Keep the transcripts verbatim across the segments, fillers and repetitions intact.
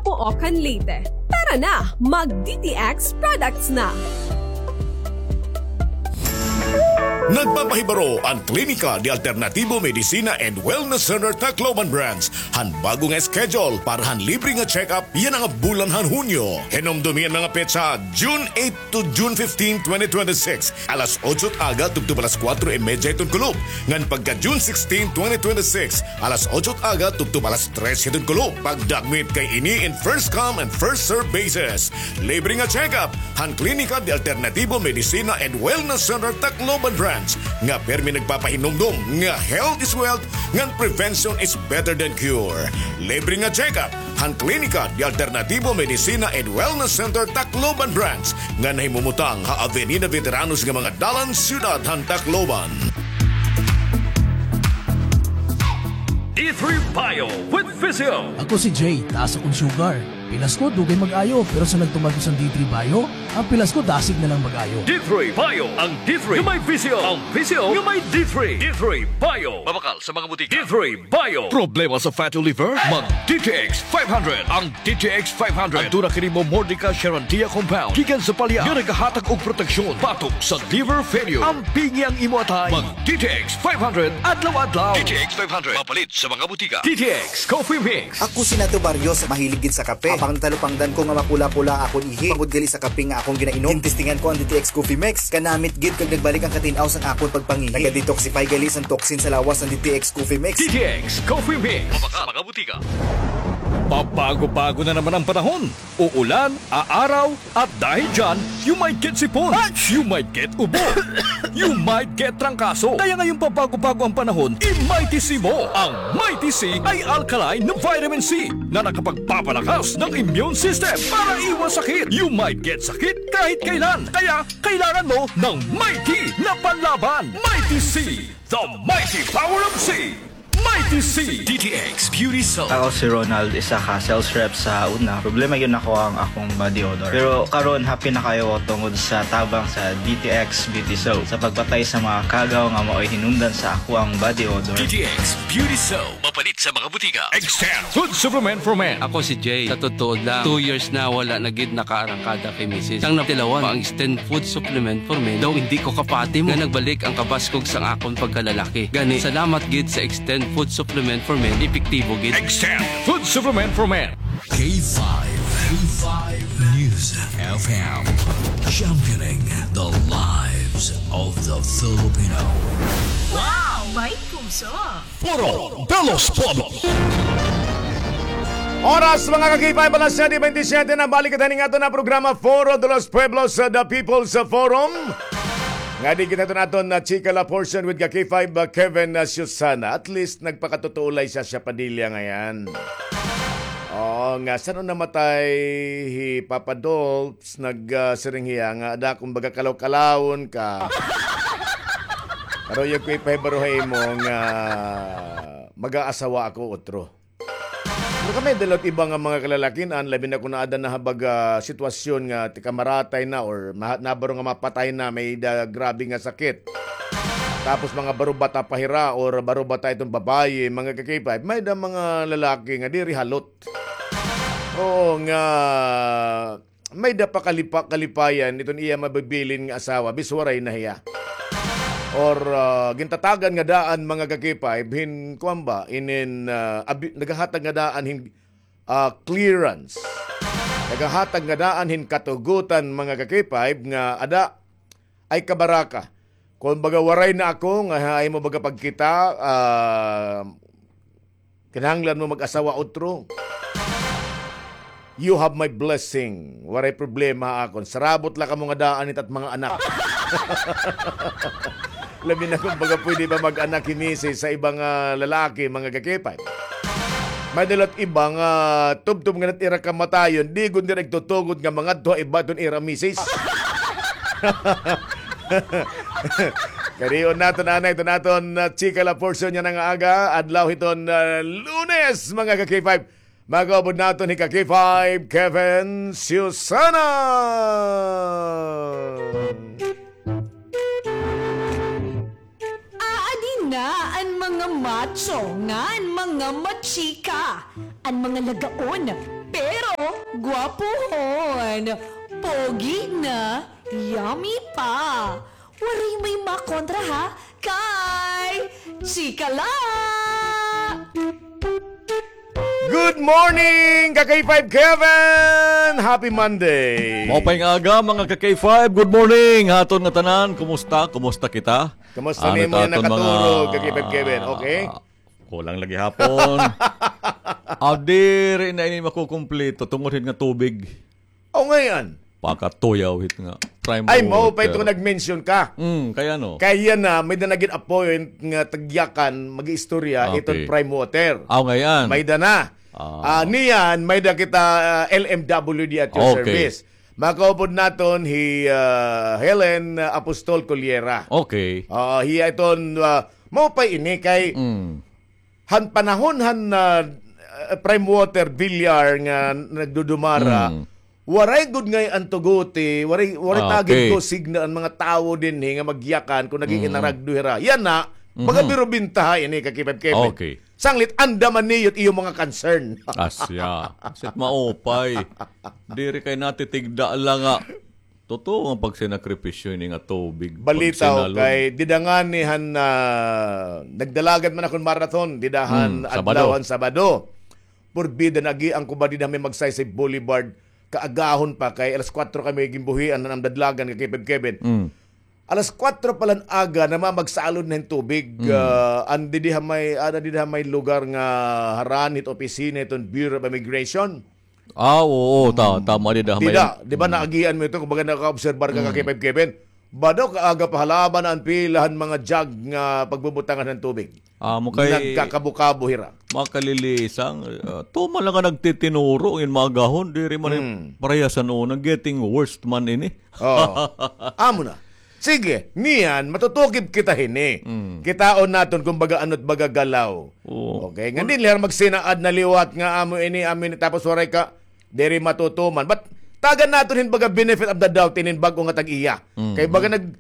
Pook han Leyte. Tara na, mag D T X products na! Nagpapahibaro an Klinika de Alternativo Medicina and Wellness Center Tacloban Branch han bag-o nga schedule para han libre nga check-up yana nga bulan han Hunyo. Hinumdumi an mga petsa, June eight to June fifteen, twenty twenty-six, alas otso it aga tubtob alas kuwatro y medya hiton kulop, ngan pagka June sixteen, twenty twenty-six, alas otso it aga tubtob alas tres hiton kulop. Pagdagmit kay ini in first come and first serve basis. Libre nga check-up han Klinika de Alternativo Medicina and Wellness Center Tacloban Branch nga pirmi nagpapahinumdom nga health is wealth ngan prevention is better than cure. Libre nga check-up han Klinika de Alternativo Medicina and Wellness Center Tacloban Branch nga nahimumutang ha Avenida Veteranos nga mga dalan, siyudad han Tacloban. D three Bio with Physio. Ako si Jay, taas akon sugar. Pilas ko, dugay mag-ayo, pero sa nagtuman ko sa D three Bio, an pilas ko, dasig na lang mag-ayo. D three Bio, ang D three nga may Physio, ang Physio nga may D three. D three Bio. Mabakal sa mga butika. D three Bio. Problema sa fatty liver? Mag D T X five hundred. Ang D T X five hundred. Aduna kini Momordica charantia compound gikan sa palya nga nagahatag og proteksyon batok sa liver failure. Ampingi ang imo atay. Mag D T X five hundred adlaw-adlaw. D T X five hundred. Mapalit sa mga butika. D T X Coffee Mix. Ako si Nato Barrios, mahilig gid sa kape. Apang natalupangdan ko nga mapula-pula akon ihi tungod gali sa kape nga akon ginainom. Ginestingan ko an D T X Coffee Mix. Kanamit gid kag nagbalik an katin-aw sang akon pagpangihi. Naga-detoxify gali sang toxin sa lawas an D T X Coffee Mix. D T X Coffee Mix. Mabakal sa mga butika. Pabago-bago na naman ang panahon. Uulan, aaraw, at dahil dyan, you might get sipon. You might get ubo. You might get trangkaso. Kaya ngayong pabago-bago ang panahon, i-Mighty C mo. Ang Mighty C ay alkaline na vitamin C na nakapagpapalakas ng immune system para iwas sakit. You might get sakit kahit kailan. Kaya kailangan mo ng Mighty na panlaban. Mighty C, the mighty power of C. Mighty C. D T X Beauty Soap. Ako si Ronald, isa ka sales rep sa una. Problema gyud nako ang akong body odor. Pero karon, happy na kaayo ko tungod sa tabang sa D T X Beauty Soap sa pagpatay sa mga kagaw nga maoy hinungdan sa akoang body odor. D T X Beauty Soap. Mapalit sa mga butika. Extend Food Supplement for Men. Ako si Jay. Sa totoo lang, two years na wala na gid nakaarangkada kay misis. Sang natilawan pa ang Extend Food Supplement for Men, daw indi ko kapati mo nga nagbalik ang kabaskog sang akon pagkalalaki. Gani, salamat gid sa Extend Food Supplement for Men, epektibo gid. Extend Food Supplement for Men. K five, K five News F M, championing the lives of the Filipino. Wow! May puso! Foro de los Pueblos. Oras, mga ka-K five, alas siyete bentisiete na. Balik kita ning aton nga programa, Foro de los Pueblos, uh, The People's Forum. Ngadi kita iton aton, uh, chika la portion with ka-K five, uh, Kevin, uh, Susana. At least, nagpakatotoo la hi Sasha Padilla ngay-an. Oo, nga san-o namatay hi Papa Dolph, nag, ah, siring hiya nga ada akon baga kalaw-kalawon ka. Pero ayaw ko ipahibaro ha imo nga mag-aasawa ako utro. Pero kami, may-ada la iba nga mga kalalakin-an, labi na kon aada na ha baga sitwasyon nga tikamaratay na or maha-, nabaro nga mapatay na, may-ada grabe nga sakit. Tapos mga baro-bata pa hira or baro-bata iton babaye, mga ka-K five, may-ada mga lalaki nga diri halot. Oo, nga may-ada pa kalipa-, kalipayan iton iya mabibilin nga asawa, bis waray na hiya. Or, ah, gintatagan nga daan, mga ka-K five, hin, kuan ba, inin, ah, abi-, nagahatag nga daan hin, ah, clearance. Nagahatag nga daan hin katugutan, mga ka-K five, nga ada ay kabaraka. Kon baga waray na ako nga ha imo baga pagkita, ah, kinahanglan mo mag-asawa utro. You have my blessing. Waray problema ha akon. Sarabot la kamo nga daan it at mga anak. Labi na kon baga pwede pa mag-anak hi misis sa iba nga lalaki, mga ka-K five. May-ada la iba nga tubtob nga nat ira kamatayon, di gud nira igtutugod nga mangadto ha iba iton ira misis. Kadion naton anay iton aton, ah, chika la portion yana nga aga, adlaw hiton, ah, Lunes, mga ka-K five. Makaupod naton hi ka-K five, Kevin Susana. Aadi na an mga macho ngan mga machika, an mga lagaon, pero Gwapohon, pogi na, yummy pa. Waray may makontra ha, kay chika la! Good morning, ka K five Kevin! Happy Monday! Maupay nga aga, mga ka K five. Good morning ha aton nga tanan. Kumusta? Kumusta kita? Kumusta nimo nga nakaturog, ka K five Kevin? Okay? Kulang la gihapon. Aw, diri na ini makukumpleto tungod hit nga tubig. Aw, ngay-an. Pakatuyaw hit nga prime water. Ay, maupay to nag-mention ka. Mm, kay ano? Kay yana, may-ada na gin-appoint nga tagyakan, mag-iistorya iton prime water. Aw, ngay-an. May-ada na. Ah, niyan, may-ada kita, ah, L M W D at your service. Makaupod naton hi, ah, Helen, ah, Apostol Colliera. Okay. Ah, hiya iton, ah, maupay ini kay han panahon han, ah, prime water, Villar nga nagdudumara, waray gud ngay-an tuguti, waray, waray tagid ko signal an mga tawo dinhi nga magyakan kon nag-iinaragdo hira. Yana, baga biro bintaha ini, ka K five Kevin. Okay. Sanglit, andam man niyo it iyo mga concern. Asya. Sit maupay. Diri kay natitigda la nga totoo nga pagsinakripisyo ini nga tubig. Balitaw kay dida ngani han, ah, nagdalagan man akon marathon, dida han adlaw han Sabado. Purbida nag-aagi ko ba dida ha may Magsaysay Boulevard, kaagahon pa kay alas kuwatro kami ginbuhian han amon dadlagan, ka K five Kevin. Alas kuwatro pa la han aga, namamagsalod na hin tubig. Ah, an didi ha may, ada didi ha may lugar nga harani hit opisina hiton Bureau of Immigration. Ah, oo, ta-, tama, dida ha may. Dida, di ba, naagian mo ito, kumbaga, nakaobserbar ka, ka K five Kevin. Ba daw, kaaga pa, halaban an pila han mga jug nga pagbubutangan han tubig. Amo kay nagkakabo-kabo hira. Makalilisang, ah, tuman la nga nagtitinuro, ngin maagahon, diri man parehas han una, getting worse man ini. Oo. Amo na. Sige, niyan, matutukib kita hini. Kitaon naton kon baga ano it baga galaw. Oo. Okay, ngan dinhi la hira magsinaad na liwat nga amo ini, amo ini, tapos waray ka, diri matutuman. But tagan naton hin baga benefit of the doubt inin bag-o nga tag-iya. Kay baga nag-,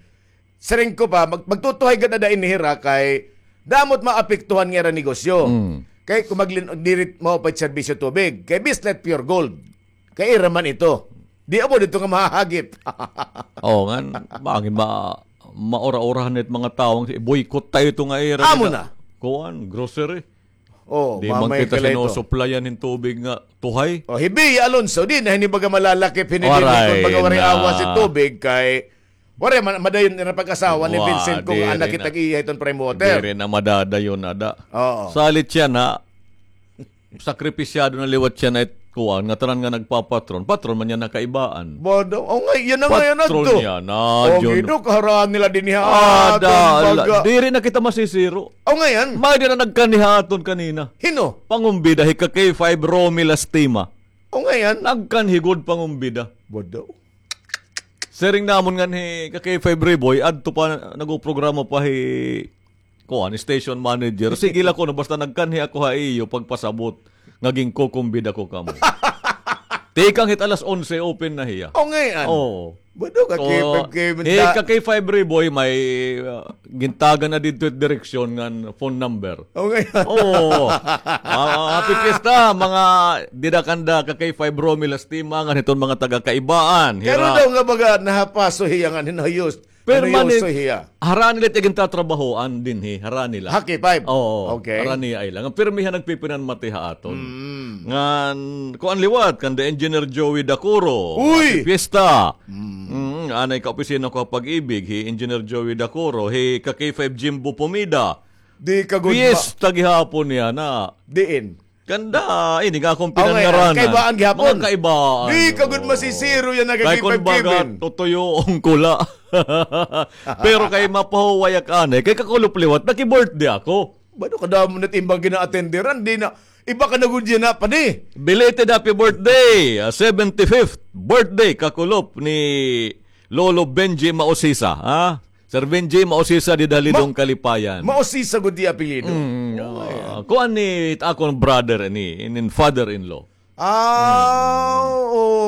siring ko pa, mag-, magtutuhay gad ada ini hira kay damo it maapektuhan nga ira negosyo. Kay kon maglin-, diri maupay it serbisyo tubig. Kay Bislet Pure Gold. Kay ira man ito. Di amo didto nga mahahagit. Oo, ngan, bangin ma-, maura-urahan it mga tawo nga i-boycott ta ito nga ira. Amo na. Kuan, grocery. Oh, di man kita sinusuplayan hin tubig nga tuhay. Oh, hi Bea Alonso, di na hini baga malalakip hini dinhi kon baga waray awas it tubig kay waray man, madayon na pag-asawa ni Vincent kon anak kita tag-iya hiton prime water. Diri na madadayon ada. Oo. Salit siya na sakripisyado na liwat siya na it kuan, nga tanan nga nagpapatron. Patron man niya nakaibaan. Bado, o nga, yana nga yana to. Patron niya na, o, Jun. Gido, kaharaan nila dinhi ha aton baga. Diri na kita masisiro. O nga yan. May di na nagkanhi ha aton kanina. Hino? Pangumbida, hi ka K five Romy Lastima. O nga yan. Nagkanhi gud pangumbida. Bado. Siring namon ngan hi ka K five Riboy, adto pa, nagprograma pa hi kuan, station manager. Sige la kuno, basta nagkanhi ako ha iyo pagpasabot nga ginkukumbida ko kamo. Tikang hit alas onse, open na hiya. O, ngay-an? Oo. Bado ka, K five, K five, hi ka K five Riboy, may, ah, gintagan na didto it direksyon ngan phone number. O, ngay-an? Oo. Ah, happy fiesta, mga dida kanda ka K five Romy Lastima, ngan hiton mga taga-Kaibaan. Pero daw nga baga nahapaso hiya ngan hinayos. Permanent. Ano yung uso hiya? Harani la it gintatrabahoan dinhi, harani la. Ha, K five? Oo, okay. Harani ay lang. Pirmi ha nagpipinanmati ha aton. Mm. Ngan, kuan liwat, kanda Engineer Joey Dacuro. Uy! Happy fiesta. Mm. Mm, anay ka opisina ko ha Pag-ibig, hi Engineer Joey Dacuro, hi ka K five Jimbo Pomida. Di ka gud ma- Fiesta gihapon niya na. Diin? Kanda, ini nga akon pinangaranan. Kaibaan gihapon. Mga kaibaan. Di ka gud masisiro yana kay K five Kevin. Kay kon baga, tutuyoon ko la. Pero kay mapahuway ak anay, kay kakulop liwat, naki-birthday ako. Bado kadamo na it imbag gina-attenderan, di na, iba ka na gud yana, padi. Belated happy birthday, ah, seventy-fifth birthday, kakulop ni Lolo Benji Mausisa, ha? Sir Benji Mausisa dida ha Lidong, Kalipayan. Mausisa gud it apelyido. Mm, ah, kuan ni akon brother ni, inin father-in-law. Ah,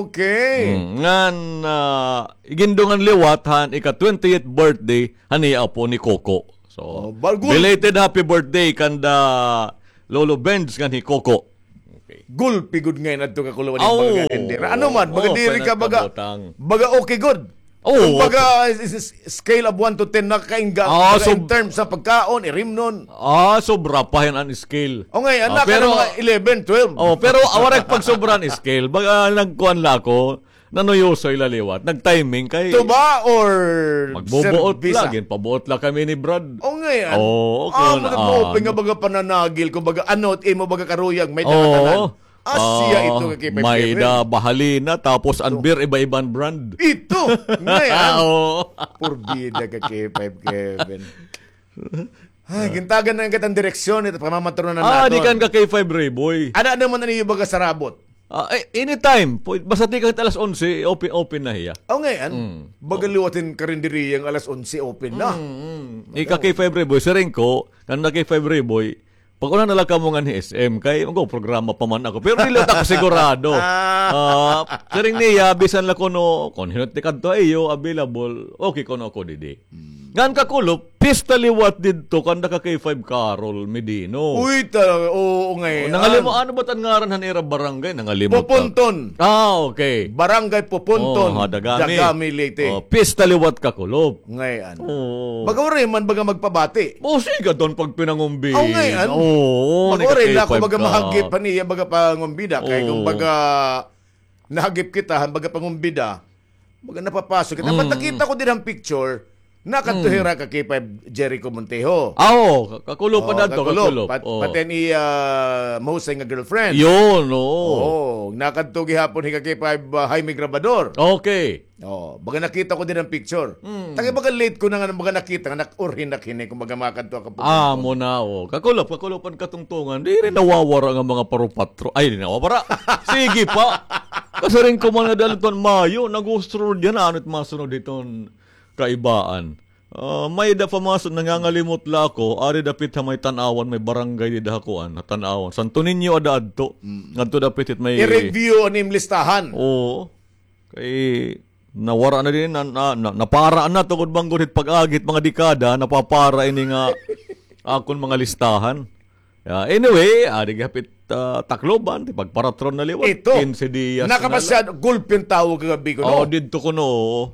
okay. Mm, ngan, ah, igindungan liwat han ika-twenty-eighth birthday han iya apo ni Coco. So, belated happy birthday kanda Lolo Benz ngan hi Coco. Okay. Gulpi gud ngay-an adto, Kakulop, an mga tindera. Ano man, baga diri ka baga, baga okay gud. Kung baga, is, is, scale of one to ten, nakakaingga, baga in terms sa pagkaon, irimnon. Ah, sobra pa hin an scale. O ngay-an, pero mga eleven, twelve. Oh, pero waray pagsobra an scale. Baga nagkuan la ako, nanuyosoy la liwat. Nag-timing kay. Tuba or magbubuot la, ginpabuot la kami ni Brad. O ngay-an. Oo, ah, magbubuot nga baga pananagil, kung baga ano, imo baga karuyag, may dala-dala. Ah, siya ito ka K five Kevin. May da bahalina, tapos an beer, iba-iba an brand. Ito, ngay-an. Oo. Purbida ka K five Kevin. Ay, gintagan na kita hin direksyon, ito, pamamatronan naton. Ah, di kan ka K five Reboy. Ano, ano man an iyo baga sarabot? Ah, eh, anytime. Pwede, basta tikang alas onse, open, open na hiya. O, ngay-an. Baga liwat hin karinderya nga alas onse, open na. Ika K five Reboy, siring ko, kan na K five Reboy, pag-una na la kamo nganhi S M, kay mag-programa pa man ako. Pero dili ako sigurado. Ah, siring niya, bisan la kuno, kon hin-o it tikadto ha iyo, available, okay kuno ako didi. Ngan Kakulop, pista liwat didto, kan da ka K five Carol Medino. Uy, talaga, oo, ngay-an. Nangalimot, ano ba it an ngaran han ira barangay? Nangalimot ako. Poponton. Ah, okay. Barangay Poponton, Dagami, Leyte. Oh, pista liwat, Kakulop. Ngay-an. Oo. Baga waray man baga magpabati. O, sige, adton pagpinangumbida. Aw, ngay-an. Oo, baga waray na ako baga mahagip han iya baga pangumbida. Kay kung baga nahagip kita han baga pangumbida, baga napapasok kita. But nakita ko dida han picture, nakadto hira ka K five Jericho Montejo. Ah, oo, Kakulop pa dadto, Kakulop. Pati an iya mahusay nga girlfriend. Yun, oo. Oo, nakadto gihapon hi ka K five, ah, Jaime Grabador. Okay. Oh, baga nakita ko dida han picture. Tagay baga late ko na nga baga nakita nga nag-urhin na kini kung baga makadto ka. Ah, amo na, oh. Kakulop, Kakulop an katungtungan. Diri nawawara nga mga parupatro. Ay, di nawawara. Sige pa. Kasiring ko man nga dali ton Mayo, nag-usrod yan. Ano it masunod hiton kaibaan? Ah, may da pa masunod, nangangalimot la ako. Ari dapit ha may Tanauan, may barangay dida ha kuan, ha Tanauan. Santo Niño ada adto. Ngadto dapit hit may i-review an im listahan. Oo. Kay nawara na din, na, na, na, napara na tungod man gud hit pag-agi hit mga dekada, napapara ini nga akon mga listahan. Yeah, anyway, adi gihapit, ah, Tacloban, ti pagparatron na liwat. Ito, kinse diyas na la. Nakapasyado, gulpi an tawo kagab-i kuno. Oh, didto kuno,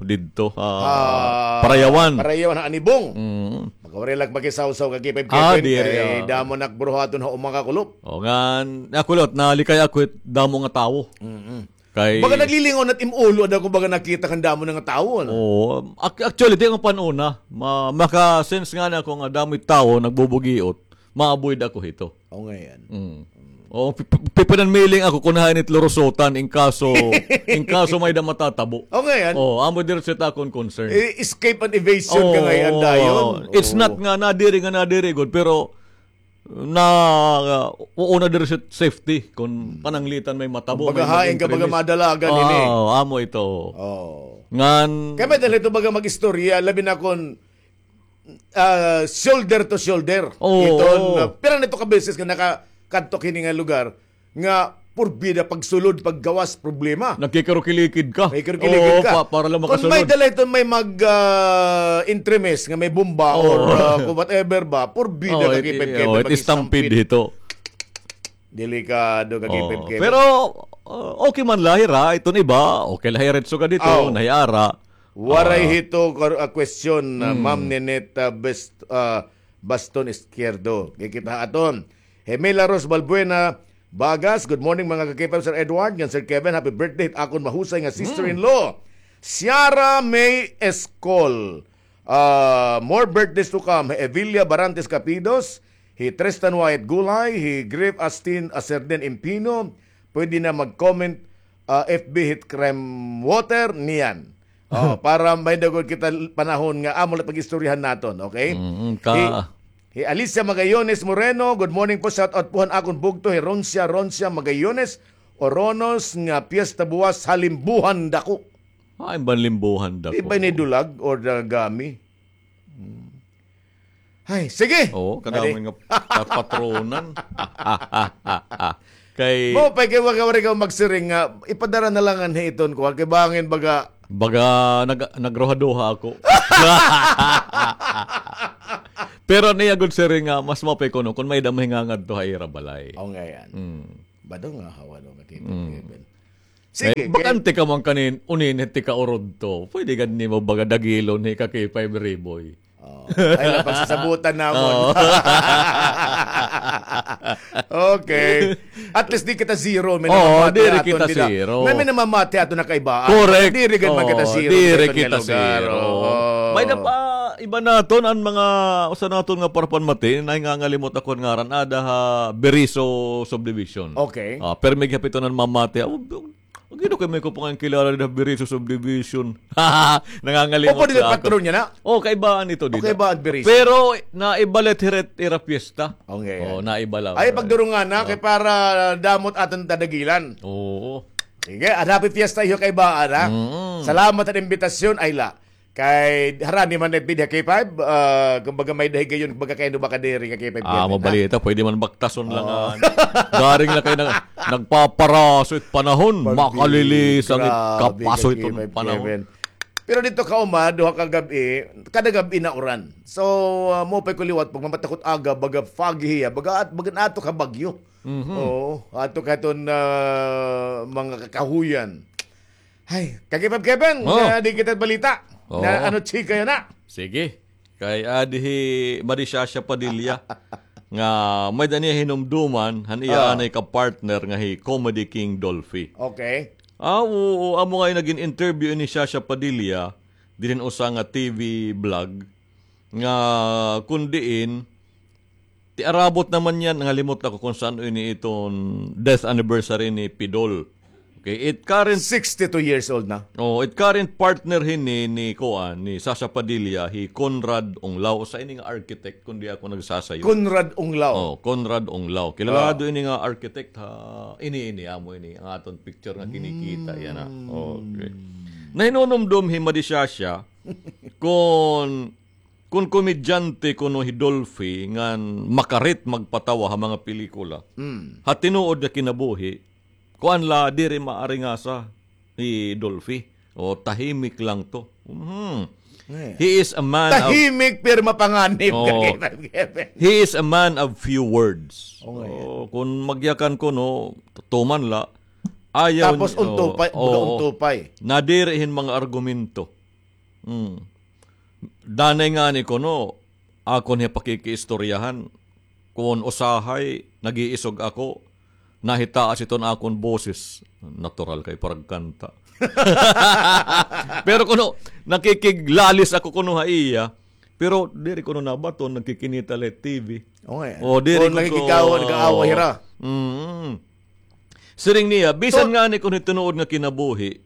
didto, ah, Parayawan. Parayawan ha Anibong. Mm. Magkawari la makisawsaw ka K five Kevin, diri, kay damo na ak buruhaton ha uma, Kakulop. O, ngan, Kakulop, nalikay ako hit damo nga tawo. Mm-mm. Kay baga naglilingaw na it im ulo, ada ko baga nakita kan damo na nga tawo, ano? Oo. Ac-, actually, di nga pan-una. Ma-, maka-sense ngani ako nga damo it tawo, nagbubugiot. Ma-avoid ako hito. O, ngay-an. Mm. O, pi-, pi-, pipinan miling ako kun hain it lurusotan, in kaso, in kaso may da matatabo. O, ngay-an. O, amo diri sa akon concern. Eh, escape and evasion ka ngay-an dayon. It's not nga nadiri nga nadiri gud, pero na, uh, uuna diri sa safety kon pananglitan may matabo, may mag-increase. Baga hain ka, baga madalagan ini. Ah, amo ito. Oh. Ngan kay may dala ito baga mag-istorya, labi na kon, ah, shoulder to shoulder. Oo. Iton, ah, pira na ito ka beses nga nakakadto hini nga lugar nga purbida pagsulod, paggawas, problema. Nagkikirukilikid ka. Nagkikirukilikid ka. Oo, pa-, para lang makasulod. Kon may dala iton may mag, ah, entremés nga may bomba or, ah, kung whatever ba, purbida ka kay Pep Kevin, it-, it-, it-, stampede hito. Delikado ka kay Pep Kevin. Pero, ah, okay man la hira, iton iba, okay la hira, itso ka dito, nahiara. Waray hito, ah, question, ah, Ma'am Ninette, ah, Best-, ah, Baston Izquierdo. Kay kita aton. Hemela Ros Balbuena Bagas, good morning, mga ka-K five, Sir Edward, ngan Sir Kevin, happy birthday hit akon mahusay nga sister-in-law, Ciara May Escol. Ah, more birthdays to come. Evilia Barantes Capidos, hi Tristan Wyatt Gulay, hi Griff Astin Aserden Impino, pwede na mag-comment, ah, F B hit Crime Water, niyan. Oh, para may da gud kita l-, panahon nga amo la pag-istoryahan naton, okay? Mm, ka- Hi, hi Alicia Magayones Moreno, good morning po, shout out po han akon bugto, hi Roncia, Roncia Magayones, Oronos, nga piyesta buwas ha Limbuhan Dako. Ay, ban Limbuhan Dako. Di ba ni Dulag or Dagami? Hmm. Ay, sige. Oo, kadamo nga patronan. Kay mao pa kay waray ka magsiring nga ipadara na la nganhi iton kuan kay bangin baga, baga nag-, nagruhaduha ako. Pero niya gud siring nga mas mao pa kuno kon may-ada mahingangadto ha ira balay. O, ngay-an. Mm. Bado nga hawa no, ka K five Mm. Kevin. Sige, Eh, bakante ka man kanin, unin, ti ka urod to. Pwede gad nimo baga dagilon hi ka K five Riboy. Oh, ay, la, pagsasabutan namon. Oo. Okay. At least di kita zero, may Oo, namamati diri aton kita bida. Zero. May, may namamati aton na kaibaan. Correct. Diri gad man kita Oo, zero, diri diri gad kita lugar. Zero. Oo. May na pa, iba naton, an mga, usa naton nga parapanmati, nahingangalimot ako an ngaran, ada ha Beriso Subdivision. Okay. Ah, pero may gihapit na namamati. Ah, Ang gino kay may ko pa nga kilala dida Beriso Subdivision. Nangangalimot Opo, dito na ako. Patron niya na? Oh, kaibaan ito dito. Kaibaan Beriso. Pero naibalit hirit ira piyesta. Okay. Oh, naiba lang. Ay, pagdurungan na, Oh. kay para damot aton tadagilan. Oo. Sige, at happy fiesta iyo kaibaan, ha? Mm. Salamat sa imbitasyon, ay la. Kay harani man na bida K five, ah, kumbaga may dahigayon, kumbaga kay ano ba ka diri ka K five Ah, Kevin, ha? Mabalita, pwede man baktason lang, Oo. ah, garing na kay na, nagpaparaso it panahon, Pag-, makalilisang it grabe kapaso ka, iton K five panahon. Kevin. Pero dito ka uma, duha ka gab-i, kada gab-i na uran. So, ah, mo pa'y kuliwat, pag mamatakot aga, baga foggy hiya, baga at, baga ato ka bagyo. Mhm. Oo, ato ka iton, ah, mga kakahuyan. Hay, ka K five Kevin, Oo. na di kita balita. Oo. Na ano, chika yun na. Sige. Kay adi hi Marishasha Padilla nga may-ada niya hinumduman, han iya Ah. anay ka partner nga hi Comedy King Dolphy. Okay. Ah, oo, amo nga nagin interview ni Shasha Padilla, dinhi usa nga T V vlog, nga kun diin, ti arabot naman niya, nangalimot ako kung saan ini iton death anniversary ni Pidol. Okay, it current Sixty-two years old na. Oh, it current partner hini ni kuan, ni Sasa Padilla, hi Conrad Onglao, usa ini nga architect, kung di ako nagsasayo. Conrad Onglao. Oh, Conrad Onglao. Kilala Ah. do ini nga architect ha, ini, ini, amo ini, ang aton picture nga kinikita, yan na. Mm. Okay. Nahinunumdom hi Madi Shasha, kung, kung komedyante kuno hi Dolphy, ngan makarit magpatawa ha mga pelikula. Mm. Ha tinuod nga kinabuhi, kuan la, diri maaringasa hi Dolphy. O, tahimik lang to. Mhm. Eh. He is a man of Tahimik, pero mapanganib ka, Oo. Kevin. He is a man of few words. Oo nga, So, yan. kung magyakan kuno, tuman la, ayaw Tapos ni-, untupay, oo, baga oo. untupay. Nadiri hin mga argumento. Hmm. Danay ngani kuno, akon hiya pakikiistoryahan. Kon usahay, nag-iisog ako, nahitaas iton akon boses. Natural kay paragkanta. Pero kuno, nakikiglalis ako kuno ha iya, pero diri kuno nabaton, nagkikinita la T V. Okay. O, diri Kon kuno, nakikikawa, nag-aawa hira. Mm. Siring niya, bisan So, ngani kuno tinuod nga kinabuhi,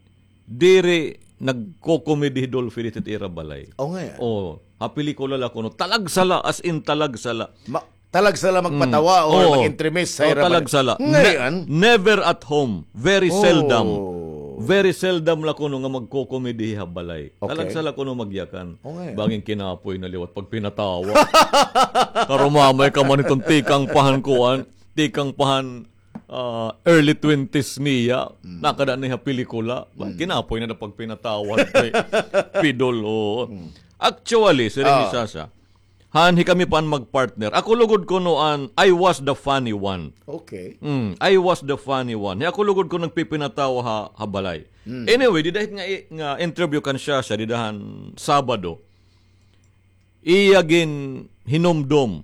diri nagko-comedy hi Dolphy dito ira balay. O nga. O, ha pelikula la kuno, talagsa la, as in talagsa la. Ma-, talagsa la magpatawa Mm. or Oo. mag-entremist sa Oo, ira balay. talagsa la. Ngayon? Ne-, never at home. Very Oh. seldom. Very seldom la kuno nga magko-comedy ha balay. Okay. Talagsa la kuno magyakan. O nga. Bangin kinapoy na liwat pag pinatawa. Karumamay ka man iton tikang pahan kuan, tikang pahan ah, early twenties niya, Mm. nakada niya pelikula. Ba, Mm. kinapoy na na pagpinatawag kay Pidol, oo. Mm. Actually, siring ni Ah. Sasa, han hikami pa an magpartner. Ako lugod kuno an, I was the funny one. Okay. Mm, I was the funny one. Hi ako lugod kuno nagpipinatawa ha, ha balay. Mm. Anyway, dida hit nga i-, nga interview kan Sasa, dida han Sabado. Iya ginhinumdom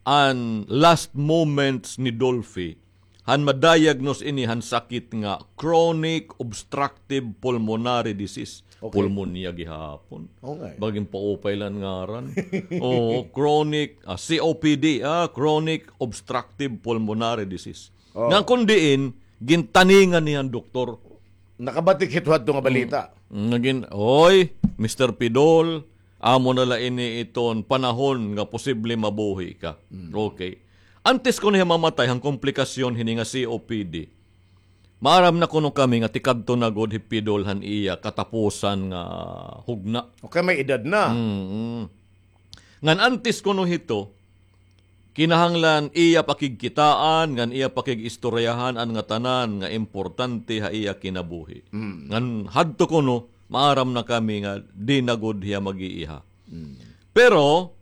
an last moments ni Dolphy han ma-diagnose ini han sakit nga chronic obstructive pulmonary disease. Okay. Pulmonya gihapon. Okay. Bangin paupay la an ngaran. Oo, chronic, ah, C O P D, ah, chronic obstructive pulmonary disease. Oh. Nga kun diin, gintaningan niya an doktor. Nakabatik hito hadto nga balita. Mm, nagin, "Oy, Mister Pidol, amo na la ini iton panahon nga posible mabuhi ka." Mm. Okay. Antes kuno hiya mamatay han komplikasyon hini nga C O P D, maaram na kuno kami nga tikadto na gud hi Pidol han iya katapusan nga hugna. Okay, may edad na. Mm. Ngan antes kuno hito, kinahanglan iya pakigkitaan, ngan iya pakig-istoryahan an ngatanan nga importante ha iya kinabuhi. Mm. Ngan hadto kuno, maaram na kami nga di na gud hiya mag-iiha. Mm. Pero,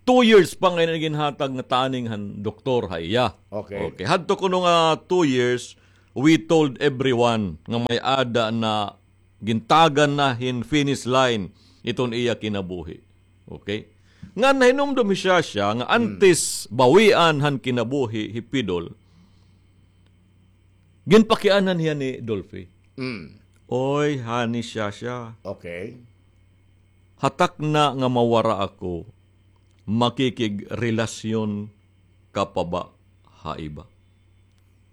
two years pa nga ginhatag nga tanning han doktor ha iya. Okay. Okay. Hadto kuno nga two years, we told everyone nga may-ada na gintagan na hin finish line iton iya kinabuhi. Okay? Nga nahinumdom hi Shasha nga antes bawian han kinabuhi hi Pidol, ginpakianhan hiya ni Dolphy. Mm. Oy, honey Shasha. Okay. Hatak na nga mawara ako, makikigrelasyon ka pa ba ha iba?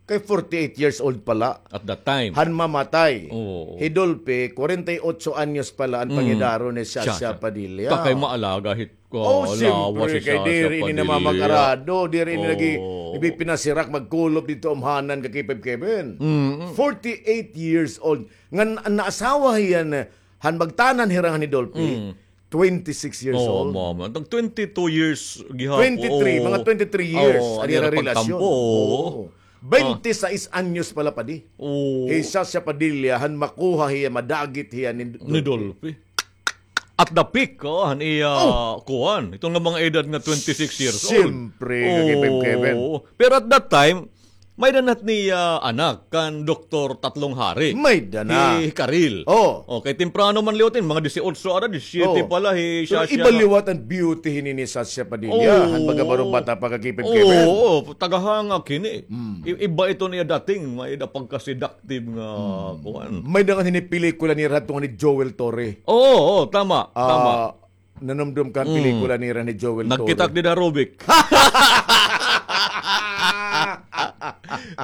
Kay forty-eight years old pala. At that time. Han mamatay. Oo. Hi Dolphy, kwarenta y otso anyos pala an pangidaro ni Shasha Padilla. Takay maalaga hit ko, oh, lawas siyempre, si kay Shasha diri ini Padilla. Namamakarado, diri ini lagi ipinasirak magkulop didto umhanan ka Kipib Kevin. Mm. Forty-eight years old. Ngan an naasawa hiya na, han magtanan hira han ni Dolphy, twenty-six years old. Oo, mama. Tag twenty-two years gihapon. Twenty-three, mga twenty-three years an ira relasyon. Oo. Baynte sais anyos pala, padi. Oo. Hi Shasha Padilla, han makuha hiya, madagit hiya ni Dolphy. At the peak, oh, han iya kuan. Iton nga mga edad nga twenty-six years old. Siyempre, Kevin, Kevin. Oo. Pero at that time, may-ada na hit niya anak kan Doktor Tatlong Hari. May-ada na. Hi Karil. Oh. Okay, temprano man liwat ini, mga disiotso ada, disisyete pala hi Shasha. Pero iba liwat an beauty hini ni Shasha Padilla. Han pagkabaro-bata pa ka Kipib Kevin. Oo, tagahangak hini. I-, iba iton iya dating, may-ada pagka-seductive nga kuan. May-ada ngani hini pelikula nira hadto nga ni Joel Torre. Oo, oo, tama, tama. Nanumdom ka an pelikula nira ni Joel Torre. Nagkita ak dida ha Robic.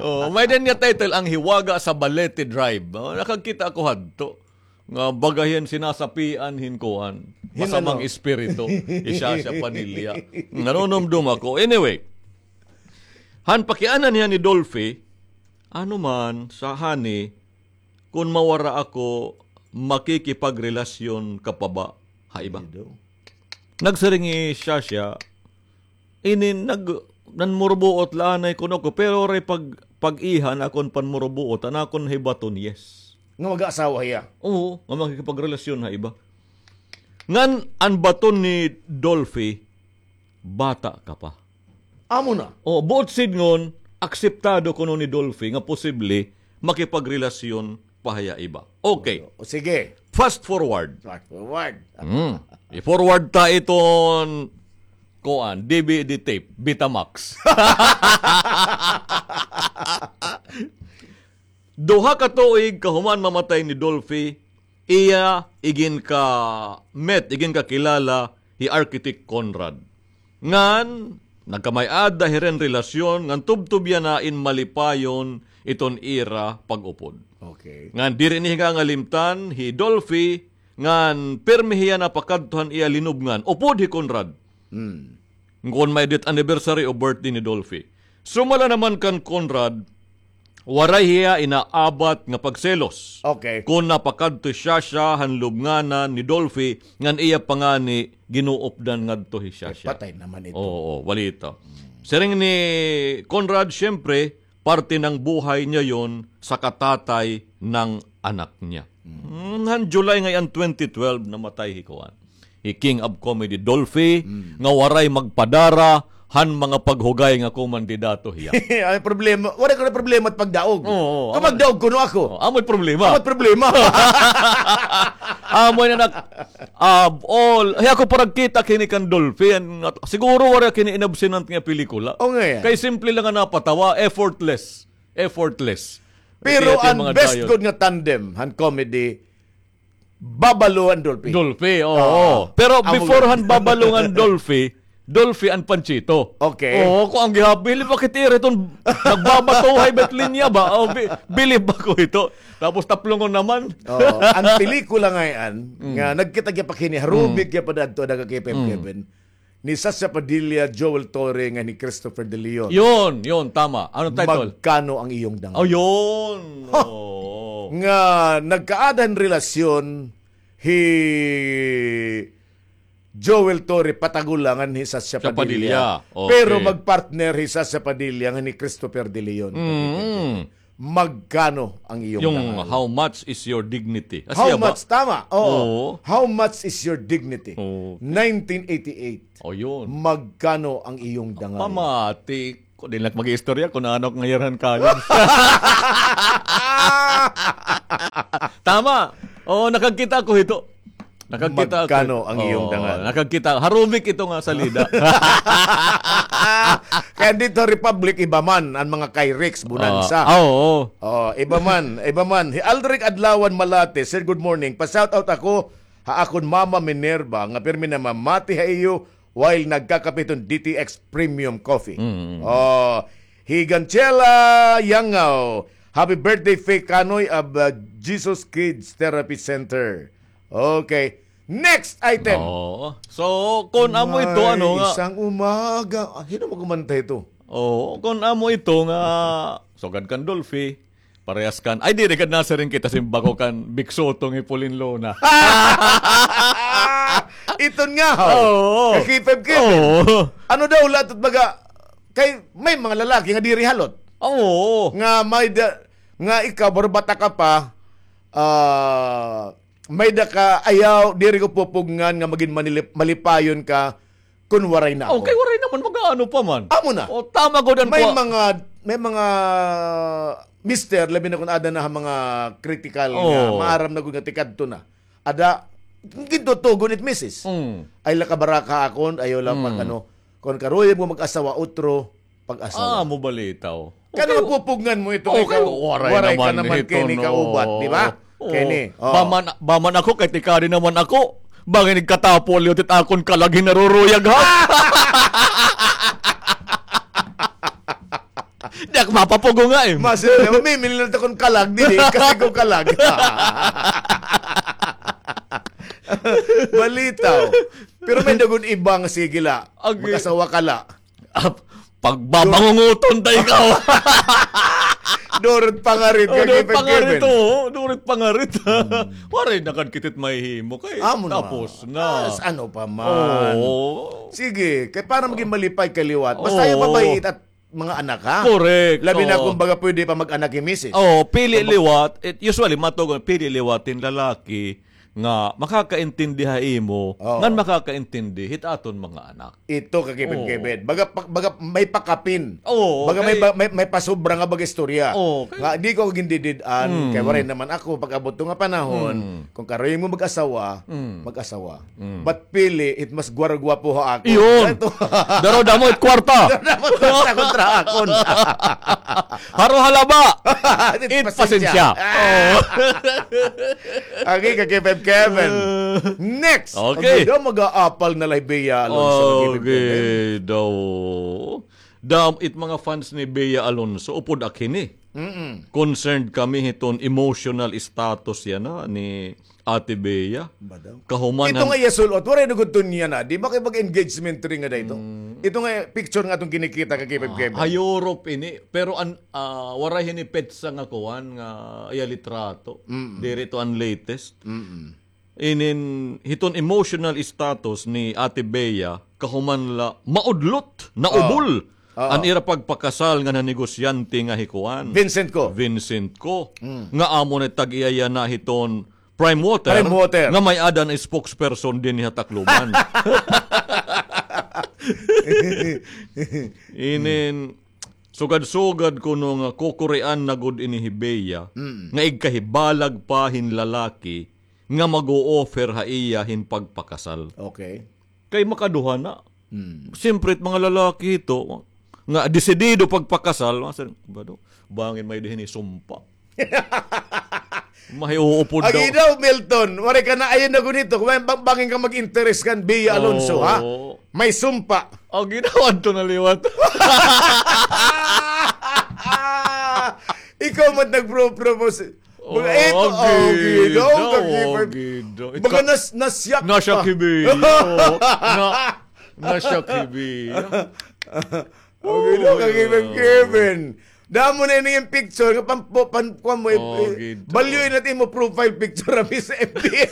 Oh, may-ada niya title, Ang Hiwaga sa Balete Drive. Oh, nakakita ako hadto. Nga baga hiya sinasapian hin kuan. Masamang espiritu. Hi Shasha Padilla. Nanunumdom ako. Anyway, han pakianhan hiya ni Dolphy, ano man, sa honey, kon mawara ako, makikipagrelasyon ka pa ba ha iba? Nagsiring hi Shasha, ini nag-, nanmurbuot la anay kuno ko, pero waray pag-, pag-iha an akon panmurbuot, an akon hibaton, yes. Nga mag-aasawa hiya? Oo, nga makikipagrelasyon ha iba. Ngan an baton ni Dolphy, bata ka pa. Amo na. O, buot sidngon, akseptado kuno ni Dolphy nga posible makipagrelasyon pa hiya iba. Okay. O, sige. Fast forward. Fast forward. Mm. I-forward ta iton, kuan, D V D tape, Betamax. Duha ka tuig kahuman mamatay ni Dolphy, iya iginka-met, iginkakilala hi Architect Conrad. Ngan nagkamay-ada hira hin relasyon, ngan tubtob yana in malipayon iton ira pag-upod. Okay. Ngan diri ini hingangalimtan hi Dolphy, ngan pirmi hiya napakadto han iya linubngan, upod hi Conrad. Hmm. Kon may death anniversary o birthday ni Dolphy. Sumala naman kan Conrad, waray hiya inaabat nga pagselos. Okay. Kon napakadto hi Shasha han lubnganan ni Dolphy, ngan iya pa ngani ginuupdan ngadto hi Shasha. Patay naman ito. Oo, walita. Siring ni Conrad, siyempre, parte ng buhay niya yon sa katatay ng anak niya. Hmm, han July ngay-an twenty twelve, namatay hi kuan, hi King of Comedy Dolphy, nga waray magpadara han mga paghugay nga kumandidato hiya. Ay, problema. Waray kuno problema it pagdaog. Oo, kon magdaog kuno ako. Oo, amoy problema. Amoy problema. Amoy na nak-, ah, all. Hay ako paragkita kini kan Dolphy. An, siguro waray kini inabsenan nga pelikula. O, nga yan. Kay simple lang an napatawa, effortless. Effortless. Pero an best gud nga tandem han comedy, Babalu ngan Dolphy. Dolphy, oo. Ah, pero before han Babalu ngan Dolphy, Dolphy and Panchito. Okay. Oo, ako an gihap, bilib ako hit ira iton nagbabatuhay ba it linya ba? O, bi-, bilib ako hito. Tapos taplongon naman. Oo. An pelikula ngay-an, nga nagkita gihap ak hini, ha Robic gihap adto, ada ka Kevin. Ni Shasha Padilla, Joel Torre, ngan ni Christopher De Leon. Yun, yun, tama. Ano title? Magkano ang iyong dangal? Oh, yun. Ha! Oo. Nga nagkaada hin relasyon hi Joel Torre, Patagula, ngan hi Shasha Padilla. Padilla. Okay. Pero magpartner hi Shasha Padilla ngan ni Christopher De Leon. Mm. Magkano ang iyong dangal? How much is your dignity? How much? Tama. Oo. How much is your dignity? Oo. Nineteen eighty-eight. O, yun. Magkano ang iyong dangal? Pamati. Di na ak mag-iistorya kun ano ak ngayarhan college. Tama. Oo, nakagkita ako hito. Nakagkita ako. Magkano ang iyong dangal? Nakagkita. Harumik ito nga salida. Kay dito Republic, iba man an mga Kyrex, Bonanza. Oo. Oo, iba man, iba man. Hi Aldric Adlawan Malate, "Sir, good morning. Pa-shoutout ako ha akon Mama Minerva nga pirmi namamati ha iyo while nagkakape hiton D T X Premium Coffee." Mm. Oh, hi Ganchela Yangaw, "Happy birthday, Faye Kanoy of, uh, Jesus Kids Therapy Center." Okay. Next item. Oo. So, kun amo ito, ano nga? May isang umaga. Ah, hin-o magkumanta ito? Oo, kun amo ito nga, sugad kan Dolphy, parehas kan, ay, diri gad nasiring kita, simbako kan Big Soto nga hi Pauline Luna. Iton nga, ho. Oo. Ka-K five Kevin. Oo. Ano daw, latot baga, kay may mga lalaki nga diri halot. Oo. Nga may da-, nga ikaw, barbata ka pa, ah, may da ka, ayaw, diri ko pupugngan nga magin manilip-, malipayon ka, kun waray na ako. Okay, waray naman, mag-aano pa man. Amo na. O, tama gud an may mga, may mga mister, labi na kun ada na ha mga critical nga, maaram na gud nga tikadto na. Ada, gintutugon it misis. Mm. Ay, la kabaraka akon, ayaw la pag-ano. Kun karuyag mo mag-asawa, utro, pag-asawa. Ah, amo balitaw. Kay ano mapupugngan mo ito? Okay, waray ka naman kini kaubat, di ba? Kini, oh. Baman, baman ako, kay tikadi naman ako. Bangin nagkatapo liwat it akon kalag hin naruruyag, ha? Di ako mapapugo nga, eh. Mas, eh, mamimili na akon kalag, dili, kasi ko kalag. Balitaw. Pero may da gud iba nga sige la. Mag-asawa ka la. Ah, pagbabangunguton ta ikaw. Durot pangarit, oh, ka durot pangarit, oh, durot pangarit. Hmm. Waray na kad kit it mahihimo kay amo na. Tapos na. Ah, ano pa man. Oo. Sige, kay para magin malipay ka liwat. Basta ayaw mabay-i it mga anak, ha? Correct. Labi na kun baga pwede pa mag-anak hi misis. Oo, pili liwat. It, usually, matugon, pili liwat hin lalaki nga makakaintindi ha imo, ngan makakaintindi hit aton mga anak. Ito, ka-K five Kevin. Baga, pa-, baga may pakapin. Oo, baga may, may, may pasobra nga baga istorya. Oo, okay. Nga, di ko gindidid-an, kay waray naman ako, pag-abot to nga panahon, kun karuyag mo mag-asawa, mag-asawa. But pili it mas gwargwapo ha akon. Iyon. Daro damo it kwarta. Daro damo it kwarta kontra akon. Haro halaba. It pasensya. It pasensya. Ah. Okay, ka-K five Kevin. Next. Okay. Daw mag-aapal na la hi Bea Alonso, ka-K five Kevin. Okay, daw. Dam, it mga fans ni Bea Alonso, upod ak hini. Mm-mm. Concerned kami hiton emotional status yana ni Ate Bea. Ba daw? Kahuman ito nga iya sul-ot, waray na gud to niya na. Di ba kay pag-engagement ring nga da ito? Mm. Ito nga picture nga atong kinikita, ka-K five Kevin. Ha Europe ini, pero an, ah, waray hini petsa nga kuan nga iya litrato. Mm-mm. Diri to an latest. Mm-mm. Inin hiton emotional status ni Ate Bea, kahuman la maudlot, naubol an ira pagpakasal ngan han negosyante nga hi kuan. Vincent Co. Vincent Co. Mm. Nga amo na tag-iya yana hiton Prime Water, Prime Water, nga may-ada na spokesperson dinhi ha Tacloban. Inin, sugad-sugad kuno nga kukurian na gud ini hi Bea, mm, nga igkahibalag pa hin lalaki nga mag-o-offer ha iya hin pagpakasal. Okay. Kay makaduha na. Hmm. Siyempre, it mga lalaki ito, nga desidido pagpakasal, mga sir, ba daw? Bangin may dihin isumpa. Mahiuupod daw. Agi daw, Milton, waray ka na, ayaw na gunito. Kung may bang-, bangin ka mag-interes kan Bea Alonso, ha? Oo. May sumpa. Agi daw, adto na liwat. Ikaw man nagpro-propose. Mga ito, agi daw, agi daw. Baga nas-, nasyak pa. Nasyak hi Bea. Na-, nasyak hi Bea. Agi daw, ka-Kevin, Kevin. Damo na ini nga picture, nga pam-, pam-, kuan mo, eh, balyo na it imo profile picture, Miss F B.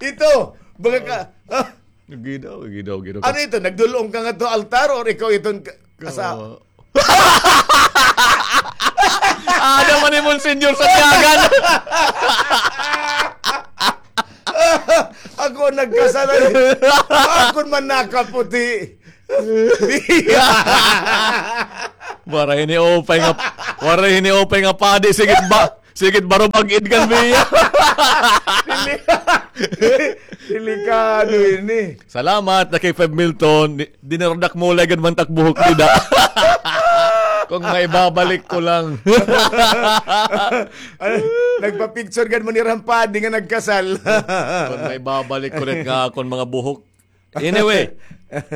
Ito, baga ka, ah. Agi daw, agi daw, agi daw. Ano ito? Nagdul-ong ka ngadto ha altar or ikaw iton ka-, kasa-, oo. Ada man ni Monsignor Santiagan. Ako nagkasal, akon man nakaputi. Waray ini upay nga, waray ini upay nga padi, sige ba? Sige, barubag-id kan biya. Dili-, delikado ini. Salamat, na kay Five Milton. Di-, dinaradak mo lay gad man tak buhok dida. Kung maibabalik ko lang. Ano, nagpa-picture gad man ni Rampadi nga nagkasal. Kung maibabalik ko ulit nga akon mga buhok. Anyway,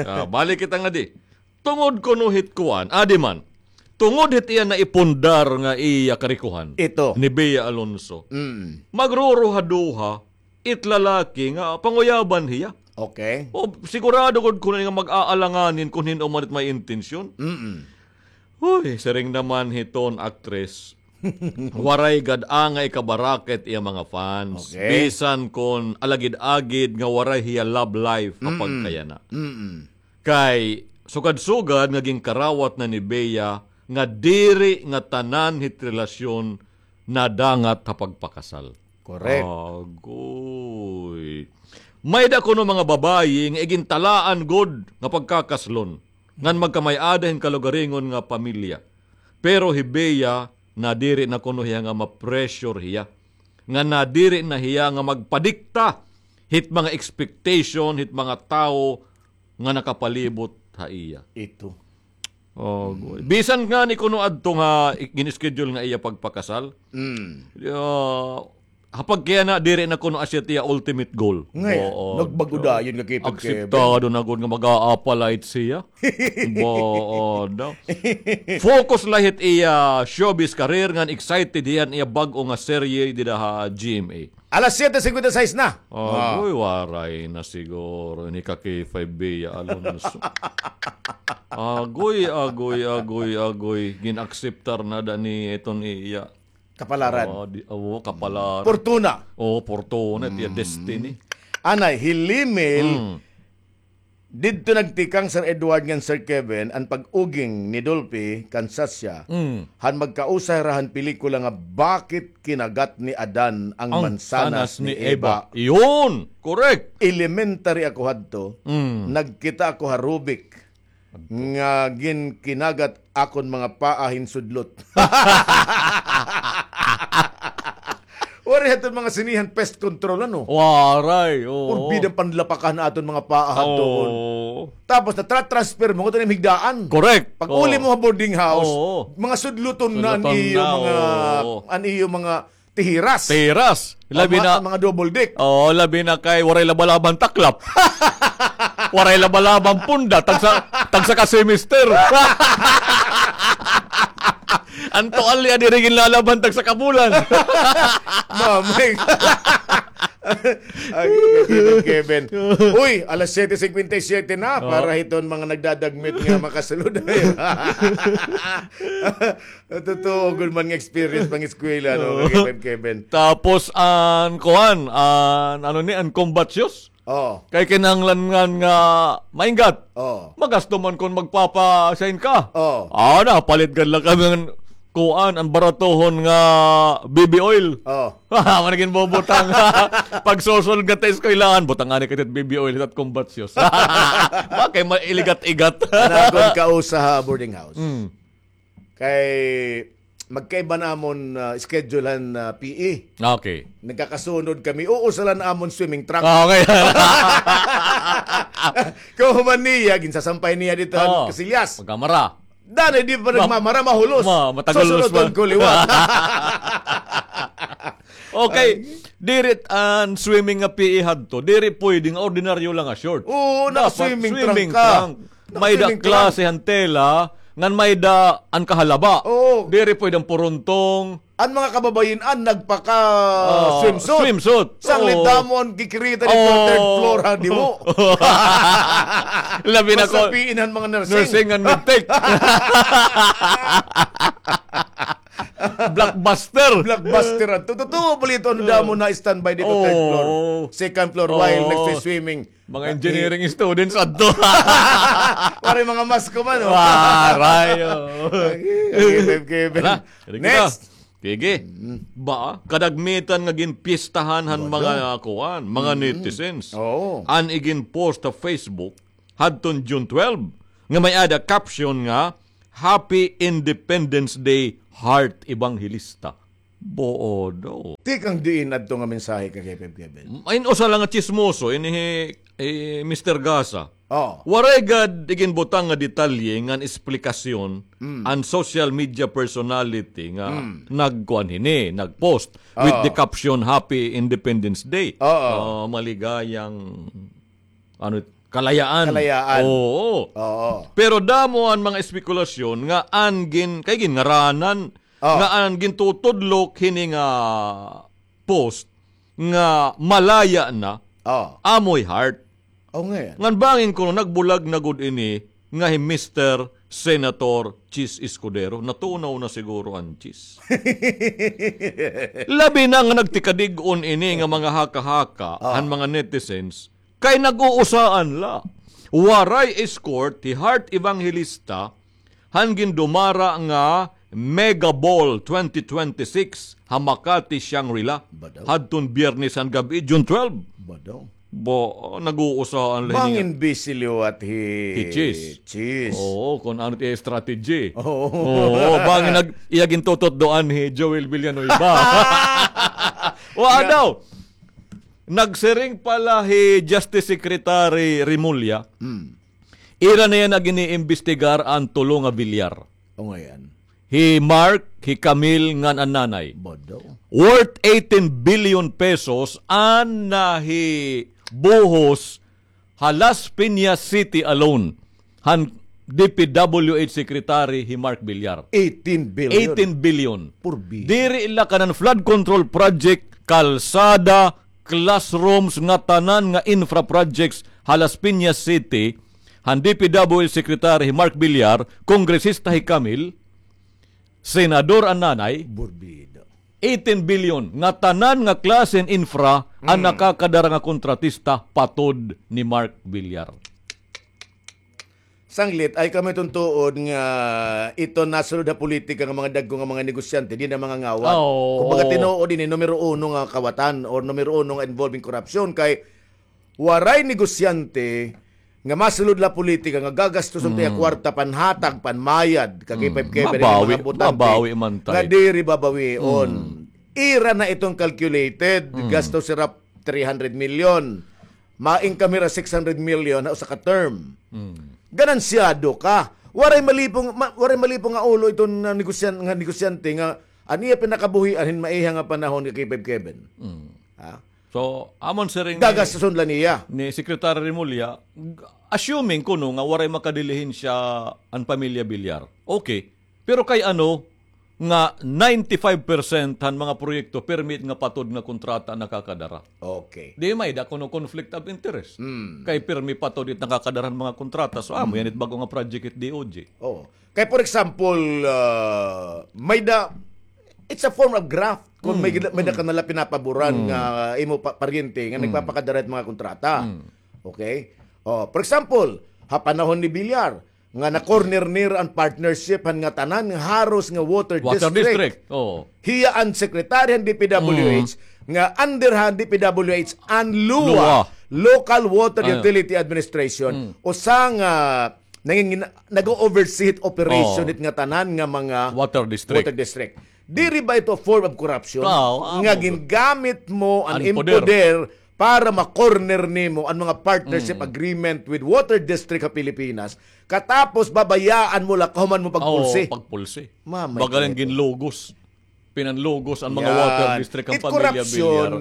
ah, balik kita nga di. Tungod kuno hit kuan, adi man. Tungod hit iya naipundar nga iya karikuhan. Ito. Ni Bea Alonso. Mm. Magruruhaduha it lalaki nga panguyaban hiya. Okay. O, sigurado gud kuno nga mag-aalanganin kun hin-o man it may intensyon. Mm-mm. Uy, siring naman hiton aktres. Waray gad angay kabaraket iya mga fans. Okay. Bisan kon alagid-agid nga waray hiya love life ha pagkayana. Mm-mm. Kay sugad-sugad nga ginkarawat na ni Bea nga diri nga tanan hit relasyon nadangat ha pagpakasal. Correct. Agoy. May-ada kuno mga babayi nga igintalaan gud nga pagkakaslon ngan magkamay-ada hin kalugaringon nga pamilya. Pero hi Bea, nadiri na kuno hiya nga ma-pressure hiya. Nga nadiri na hiya nga magpadikta hit mga expectation hit mga tawo nga nakapalibot ha iya. Ito. Oh, goy. Bisan ngani kuno adto nga i-, gin-schedule nga iya pagpakasal. Mm. Ah, ha pagkayana, diri na kuno asya it iya ultimate goal. Ngay, oo, nagbago dayon nga kita, Kevin. Akseptado na gud nga mag-a-apply siya. Boo, no? Focus la hit iya showbiz career ngan excited hiya han iya bag-o nga serye dida ha G M A. Alas siyete cincuenta y seis na. Agoy, waray na siguro ni ka K five Bea Alonso. Agoy, agoy, agoy, agoy. Gin-akseptar na da ni iton iya. Kapalaran. Ah, di, oh, kapalaran. Portuna. Oh, portuna, it iya destiny. Anay, hi Limil, didto nagtikang, Sir Edward ngan Sir Kevin, an pag-uging ni Dolphy kan Sasha, han magkausa hira han pelikula nga Bakit Kinagat ni Adan ang Mansanas ni Eva. Iyon! Correct! Elementary ako hadto, nagkita ako ha Rubik. Nga ginkinagat akon mga paa hin sudlot. Waray hadton mga sinihan pest control, ano? Waray, oo. Puro bida panlapakan aton mga paa hadton. Oo. Tapos, natra-transfer mo, ngadto na higdaan. Correct. Pag-uli mo ha boarding house, mga sudloton na an iyo mga, an iyo mga tihiras. Tihiras. Labi na, mga double deck. Oo, labi na kay waray laba-labang taklap. Waray laba-labang punda, tagsa, tagsa ka semester. An tuwalya diri ginlalabhan, tagsa ka bulan. Mamay. Ay, Kevin, Kevin. Uy, alas siyete cincuenta y siete na para hiton mga nagdadagmit nga makasulod. Totoo gud man nga experience pang-eskwela, no, Kevin, Kevin. Tapos an kuan, an ano ni, an combat shoes? Oo. Kay kinahanglan nga mainggat. Oo. Magasto man kon magpapa-sign ka. Oo. Ah, napalit gad la kami ngan kuan, an baratohon nga baby oil. Oo. Wala gin bubutang. Pagsusulod nga ta eskwelahan, butang anay ka tit baby oil, tat combat shoes. Wa kay mailigat-igat. An akon kausa ha boarding house. Mm. Kay magkaiba namon, ah, schedule han, ah, P E. Okay. Nagkakasunod kami. Uusa la an amon swimming trunk. Ah, okay. Kahuman niya, ginsasampay niya didto han kasilyas. Pagkamara. Danay di pa nagmamara, mahulos. Ma-, matagulos pa. Susunod ko liwat. Okay, diri an swimming nga P E hadto. Diri pwede nga ordinaryo lang nga short. Oo, naka-swimming trunk ka. May-da klase han tela, ngan may-da an kahalaba. Oo. Diri pwede an purontong. An mga kababayin-an nagpaka-swimsuit. Swimsuit. Sanglit damo an kikirita didto ha third floor, ha, di mo. Labi na ko. Masapiin han mga nursing. Nursing ngan medtech. Blockbuster. Blockbuster adto. Totoo, balita, ano, damo na standby didto, third floor. Oo. Second floor, while nagswi-swimming. Mga engineering students adto. Waray mga mask man, oh. Waray, oh. Okay, okay, okay. Hala, sige kita. Next. Sige. Ba, kadagmitan nga ginpistahan han mga, ah, kuan, mga netizens. Oo. An igin-post ha Facebook hadton June twelve, nga may-ada caption nga, "Happy Independence Day, Heart Evangelista." Bodo. Tikang diin adto nga mensahe, ka K five Kevin? Ay, usa lang nga tsismoso, ini hi, eh, Mister Gasa. Oo. Waray gad iginbutang nga detalye ngan esplikasyon an social media personality nga nagkuan hini, nag-post with the caption, "Happy Independence Day." Oo. Ah, maligayang, ano, kalayaan. Kalayaan. Oo. Oo. Pero damo an mga espekulasyon nga an gin-, kay ginngaranan, nga an gintutudlok hini nga post nga malaya na, amo hi Heart. Oh, nga yan. Ngan bangin kuno nagbulag na gud ini nga hi Mister Senator Chiz Escudero. Natunaw na siguro an Chiz. Labi na nga nagtikadig-on ini nga mga haka-haka han mga netizens, kay nag-uusaan la. Waray escort hi Heart Evangelista han gindumara nga Mega Ball twenty twenty-six ha Makati Shangri-La hadton Biyernes han gab-i, June twelve. Bado. Ba, nag-uusaan la niya. Bangin busy liwat hi Chiz. Oo, kun ano it iya strategy. Oo. Oo, bangin nag-, iya gintututdoan hi Joel Villanueva. Wa daw. Nagsiring pa la hi Justice Secretary Remulla, ira na yana gin-iimbestigar an tulo nga bilyar. O, nga yan. Hi Mark, hi Camille, ngan an nanay. Bodo. Worth eighteen billion pesos an nahibuhos ha Las Piñas City alone han D P W H Secretary hi Mark Villar. Eighteen billion. Eighteen billion. Purbi. Diri la kanan flood control project, kalsada, classrooms, nga tanan nga infra projects ha Las Piñas City, han D P W H Secretary hi Mark Villar, kongresista hi Camille, senador an nanay, Burbida. Eighteen billion nga tanan nga klase hin infra an nakakadara nga kontratista patod ni Mark Villar. Sanglit, ay kami tuntuod nga ito nasulod ha politika nga mga dagko nga mga negosyante, di na mga ngawat. Oo. Kumbaga, tinuod ini, numero uno nga kawatan or numero uno nga involving korupsyon kay waray negosyante nga masulod la politika nga gagastuson ta iya kwarta panhatag, panmayad, kag ipaibkay ba rin mga botante mabawi man nga tay. Diri babawion. Ira na iton calculated, gastos hira three hundred million. Ma-income hira six hundred million ha usa ka term. Ganansyado ka. Waray malipong, ma-, waray malipong nga ulo iton, ah, negosyan-, nga negosyante nga an iya pinakabuhian hin maiha nga panahon nga K five Kevin. Ha? So, amon siring ni, gagastuson la niya. Ni Secretary Remulla, assuming kuno nga waray makadilihensya an pamilya Villar. Okay. Pero kay ano nga ninety-five percent han mga proyekto pirmi it nga patod nga kontrata an nakakadara. Okay. Di may-ada kuno conflict of interest. Kay pirmi patod it nakakadara han mga kontrata. So, amo yan it bag-o nga project it D O J. Oo. Kay, for example, ah, may-ada, it's a form of graft. Kung may, may-ada ka na la pinapaboran nga imo pa-, paryente nga nagpapakadara it mga kontrata. Okay? Oh, for example, ha panahon ni Villar, nga na-corner nira an partnership han ngatanan nga haros nga water district. Oo. Hiya an secretary han D P W H, nga under han D P W H an LWUA, Local Water Utility Administration, usa nga nangingina-, nag-o-oversee hit operation hit ngatanan nga mga water district. Diri ba ito a form of corruption? Nga gingamit mo an im poder para ma-corner nimo an mga partnership agreement with water district ha Pilipinas, katapos babayaan mo la kahuman mo pagpulsi. Oo, pagpulsi. Mamay. Baga la ginlugos. Pinanlugos an mga water district han pamilya Villar.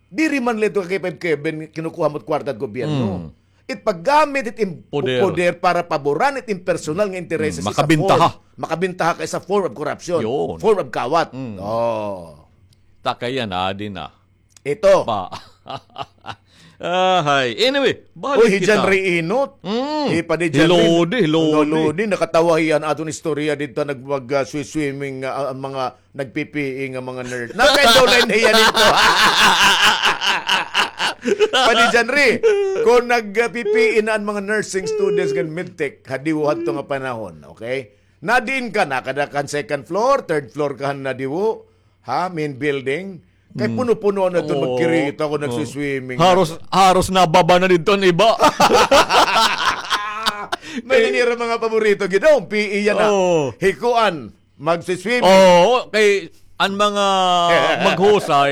Diri man la ito ka K five Kevin, kinukuha mo it kwarta hit gobyerno. It paggamit it im poder para paboran it im personal nga interes. Makabintaha. Makabintaha ka is a form of corruption. Form of kawat. Oh. Ta kay yana, adi na. Ito. Pa. Ahay. Anyway, balik kita. Uy, hi John Ray Inot. Mm. Hi Padi John Ray. Hi Lodi, hi Lodi. Lodi, nakatawa hiya an aton istorya didto nagmag, ah, swi-, swimming, ah, an mga nagpipiing nga mga nurse. Nakaindaw na hiya didto. Padi John Ray, kon nagpipiing na an mga nursing students ngan medtech, hadiwo hadto nga panahon, okay? Nadiin ka na, kada kan second floor, third floor ka na diwo, ha, main building. Kay puno-puno na ito, magkirita ko, nagsiswimming. Haros, haros nababa na didto an iba. May nanira mga paborito, gid, oh, P E yana. Oo. Hikuan, magsiswimming. Oo, kay an mga maghusay,